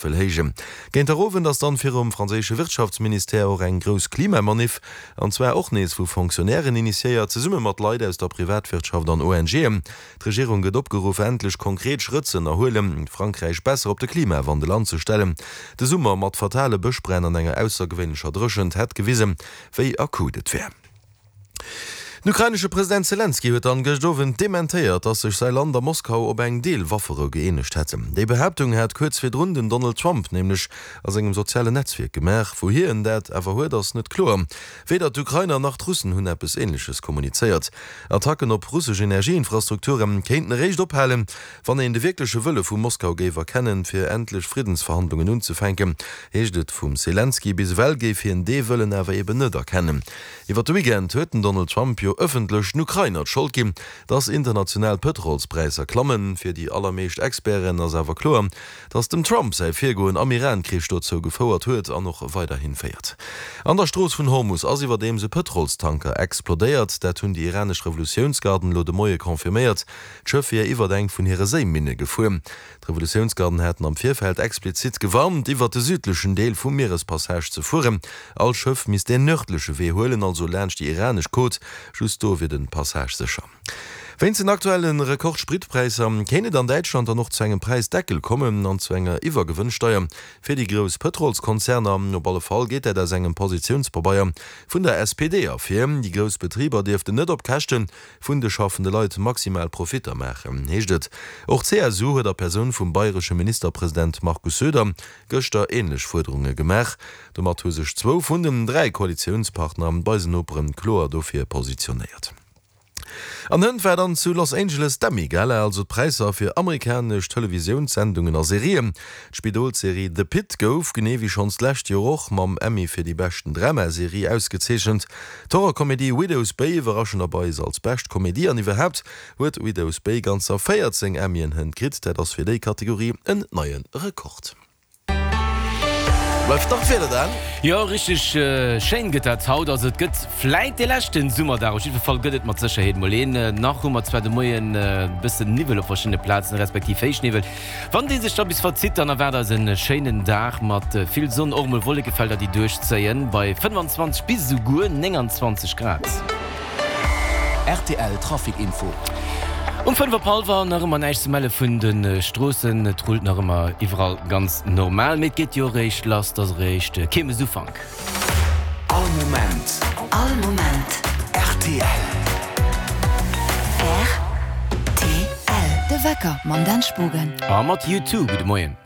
Wëll héijen. Géint der Owend ass dann virum franséische Wirtschaftsministère och eng grouss Klimamaniff, an zwar och nees vu Fonctionnairen initiéiert, zesumme mat Leit aus der Privatwirtschaft an ONGen. D'Regierung gëtt opgeruff, endlech konkret Schrëtt ze ënnerhuelen, Frankräich besser op de Klimawandel anzestellen. De Summer mat fatale Bëschbränn an enger aussergewéinlecher Dréchent hätt gewisen, wéi akut et wär. Den ukrainesche President Selenskyj huet dann gëscht Owend dementéiert, datt sech säi Land a Moskau op eng Deel-Wafferou gëeenegt hätten. Déi Behaaptung hat kuerz virdrun den Donald Trump nämlech a sengem sozialen Netzwierk gemaach. Wouhier en dat awer huet, ass net kloer. Weder d'Ukrainer nach d'Russen hunn eppes Änleches kommunizéiert. Attacken op russesch Energieinfrastrukture kéinten eréischt ophalen, wann een de wierkleche Wëlle vu Moskau géif erkennen, fir endlech Friddensverhandlungen unzefänken, heescht et vum Selenskyj. Bis ewell géif hien dee Wëllen awer eben net erkennen. Iwwer de Weekend huet den Donald Trump jo ëffentlech den Ukrainer d'Schold ginn, dass international d'Pëtrolspräisser klammen. Fir déi allermeescht Experten ass awer kloer, dass dem Trump säi Virgoen am Iran-Krich dozou gefouert huet an och weiderhi féiert. An der Strooss vun Hormus ass iwwerdeems e Pëtrolstanker explodéiert. Dat hunn déi iranesch Revolutiounsgarden elo de Moie confirméiert. D'Schëff wier iwwert eng vun hire Séiminne gefuer. D'Revolutiounsgarden haten am Virfeld explizit gewarnt, iwwert de südlechen Deel vum Mierespassage ze fueren. All Schëff misst deen nërdleche Wee huelen, also laanscht déi iranesch Côte. Just do wier de Passage sécher. Wéinst den aktuelle Rekord-Spritpräisser kéint et an Däitschland dann och zu engem Präisdeckel kommen an zu enger Iwwergewënnsteier fir déi grouss Pëtrolskonzerner. Op alle Fall geet dat aus engem Positiounspabeier vun der SPD ervir. Déi grouss Betriber dierften net op Käschte vun de schaffende Leit maximal Profitter maachen, heescht et. Och d'CSU huet a Persoun vum bayresche Ministerpresident Markus Söder gëschter änlech Fuerderunge gemaach. Domat hu sech zwou vun den 3 Koalitiounspartner bei se Noperen kloer dofir positionéiert. An hënt war dann zu Los Angeles d'Emmy-Gala, also d'Präisser fir amerikanesch Televisiounssendungen a Serien. D'Spidolsserie The Pitt gouf, genee wéi schonns d'lescht Joer och, mam Emmy fir déi beschten Dramaserie ausgezeechent. D'Horrorkomedie Widow's Bay iwwerraschenderweis als bescht Komedie an iwwerhaapt huet Widow's Bay ganzer 14 Emmyen hënt kritt, dat ass fir déi Kategorie en neie Rekord. Bleift nach d'Wieder Dan? Jo, richteg schéin gëtt dat haut. Also et gëtt vläit dee leschten Summerdag, op jiddwer Fall gëtt et mat Sécherheet mol een. Nach hu mer zwar de Moien e bëssen Niwwel op verschiddene Plazen, respektiv Héichniwwel. Wann dee sech da bis verzitt, dann erwaart eis en schéinen Dag mat vill Sonn, och mol Wollekefelder déi duerchzéien, bei 25 bis esouguer 29 Grad. Rtl Trafic Info. Um 5 op hallwer nach ëmmer näischt ze melle vun de Stroossen. Et rullt nach ëmmer iwwerall ganz normal, mee et geet jo eréischt lass, et ass eréischt Kiermesufank. All Moment. All Moment. Rtl. Rtl. De Wecker mam Dan Spogen. A mat U2. Gudde Moien.